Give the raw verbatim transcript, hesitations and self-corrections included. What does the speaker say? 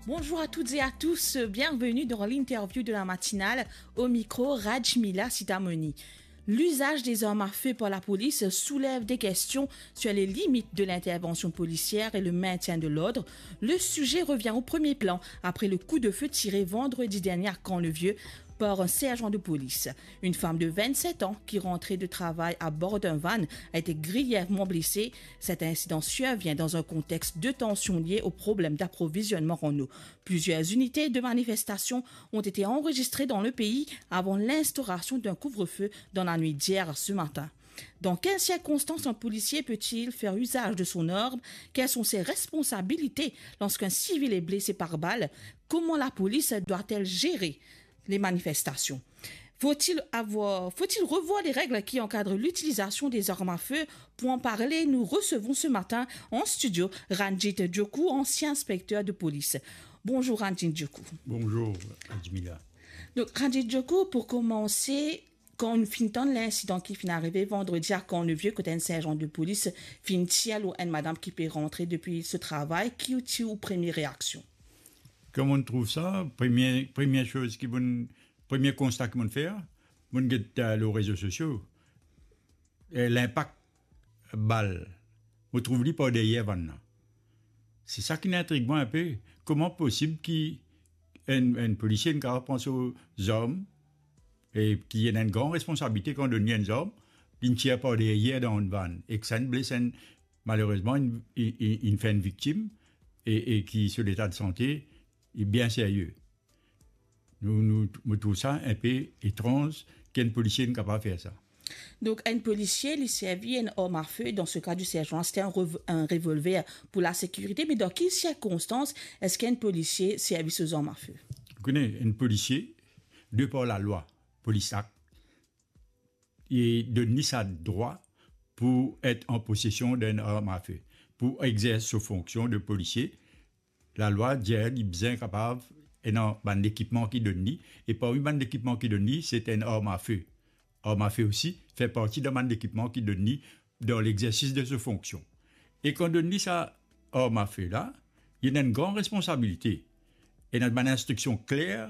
Bonjour à toutes et à tous, bienvenue dans l'interview de la matinale, au micro Rajmila Sitamoni. L'usage des armes à feu par la police soulève des questions sur les limites de l'intervention policière et le maintien de l'ordre. Le sujet revient au premier plan après le coup de feu tiré vendredi dernier à Camp-le-Vieux par un sergent de police. Une femme de vingt-sept ans qui rentrait de travail à bord d'un van a été grièvement blessée. Cet incident survient dans un contexte de tension lié au problème d'approvisionnement en eau. Plusieurs unités de manifestation ont été enregistrées dans le pays avant l'instauration d'un couvre-feu dans la nuit d'hier à ce matin. Dans quelles circonstances un policier peut-il faire usage de son arme ? Quelles sont ses responsabilités lorsqu'un civil est blessé par balle ? Comment la police doit-elle gérer les manifestations ? Faut-il avoir, faut-il revoir les règles qui encadrent l'utilisation des armes à feu ? Pour en parler, nous recevons ce matin en studio Ranjit Djoku, ancien inspecteur de police. Bonjour Ranjit Djoku. Bonjour, Admila. Donc, Ranjit Djoku, pour commencer, kan ou finn tann linsidan ki finn arive vandredi a Camp-le-Vieux, kot enn serjan de polis finn tir lor enn madam ki pe rantre depi so travay, ki ti ou premie reaksion? Kan mo trouv sa, premie, premie soz ki mo, premie konsta ki mo fer, mo get, eh, lor rezo sosio, eh, linpak bal, mo trouv li par deryer vann la. Se sa ki intrig mwa inpe. Kouma posib ki enn, enn polisie inn kapav pran so zarm, e ki ena enn gran responsabilite kan donn li enn zarm, linn tir par deryer dan enn vann, ek sa inn bles enn, malerezman, inn, inn, inn, inn fer enn viktim, e, e ki so leta de sante li bien serye. Nou, nou, mo trouv sa inpe etranz ki enn polisie inn kapav fer sa. Donc, un policier, li servi enn arm à feu, dans ce cas du sergent, c'était un rev-, un revolver pour la sécurité, mais dans quelles circonstances est-ce qu'un policier servi ses armes à feu? Ou kone, enn polisie, de par lalwa, Police Act, li donn li sa drwa pou et an posesion d'enn arm à feu, pou egzers so fonksion de polisie. Lalwa dir li bizin kapav ena bann lekipman ki donn li, e parmi bann lekipman ki donn li, se enn arm à feu. Arm à feu osi fer parti dan bann lekipman ki donn li dan legzersis de so fonksion. E kan donn li sa arm à feu la, li ena enn gran responsabilite. Ena bann instriksion kler